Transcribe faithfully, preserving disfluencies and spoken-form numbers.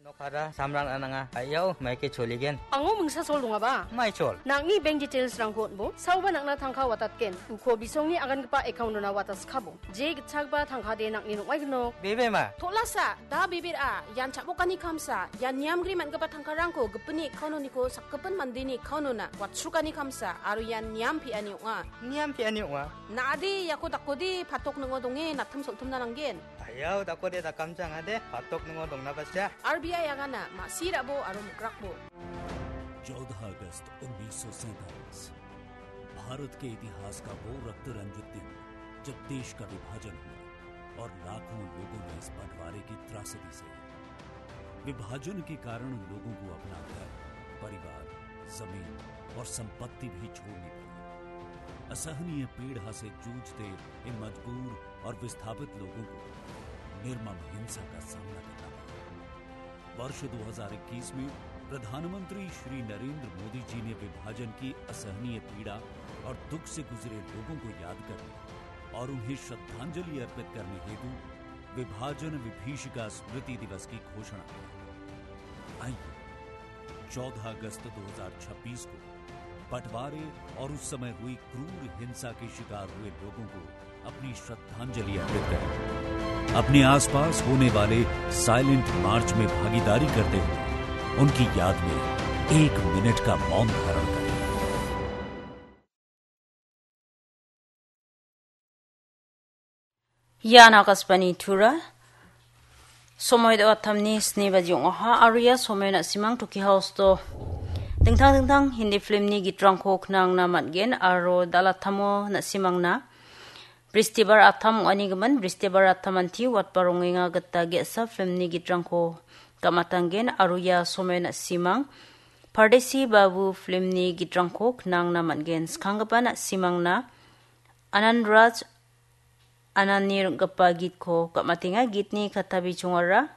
Nokara samrang ananga, ayau, maike choligen. Ango mingsa sol dongaba? Mai chol. Nangni bank details-rangko on·bo, saoba nangna tangka watatgen. Uko bisongni agangipa account-ona wataskabo. Je gitchagba tangkade nangni nong·aignok. Bebe ma? Tolasa, da bebera, ian chabokani kamsa, ian niamgri man·gipa tangkarangko gipinni account-oniko sakgipin mandeni account-ona watsrukani kamsa, aro ian niam pe·ani ong·a. Niam pe·ani ong·a? Na·ade iako dakode patok ningo donge natim soltimna nanggen. Ayau, dakode dakamjang ade, patok ningo dongna basia. R B I agana, ma·sirabo aro mokrakbo. चौदह अगस्त उन्नीस सौ सैंतालीस, भारत के इतिहास का वो रक्त रंजित दिन, जब देश का विभाजन हुआ और लाखों लोगों ने इस बंटवारे की त्रासदी सही। विभाजन के कारण लोगों को अपना घर, परिवार, जमीन और संपत्ति भी छोड़नी पड़ी। असहनीय पीड़ा से जूझते इन मजबूर और विस्थापित लोगों को निर्मम हिंसा का सामना करना पड़ा। वर्ष दो हज़ार इक्कीस में प्रधानमंत्री श्री नरेंद्र मोदी जी ने विभाजन की असहनीय पीड़ा और दुख से गुजरे लोगों को याद करने और उन्हें श्रद्धांजलि अर्पित करने हेतु विभाजन विभीषिका स्मृति दिवस की घोषणा की। आइए, चौदह अगस्त दो हज़ार छब्बीस को बंटवारे और उस समय हुई क्रूर हिंसा के शिकार हुए लोगों को अपनी श्रद्धांजलि अर्पित करें। अपने आसपास होने वाले साइलेंट मार्च में भागीदारी करते हुए उनकी याद में एक मिनट का मौन धारण करें। Ian Akashvani Tura. Somoi do·attamni sni baji ong·aha aro ia somoi na·simang Toki House-o dingtang dingtang Hindi filmni gitrangko knangna man·gen aro dal·attamo na·simangna Bristibar attam ong·anigimin, Bristibar attamanti watba rongenga gita ge·sa filmni gitrangko gamatanggen aro ia somoi na·simang Pardesi Babu filmni gitrangko knangna man·gen. Skanggipa na·simangna Anand Raj Anandni ring·gipa gitko gamatenga. Gitni katta bichongara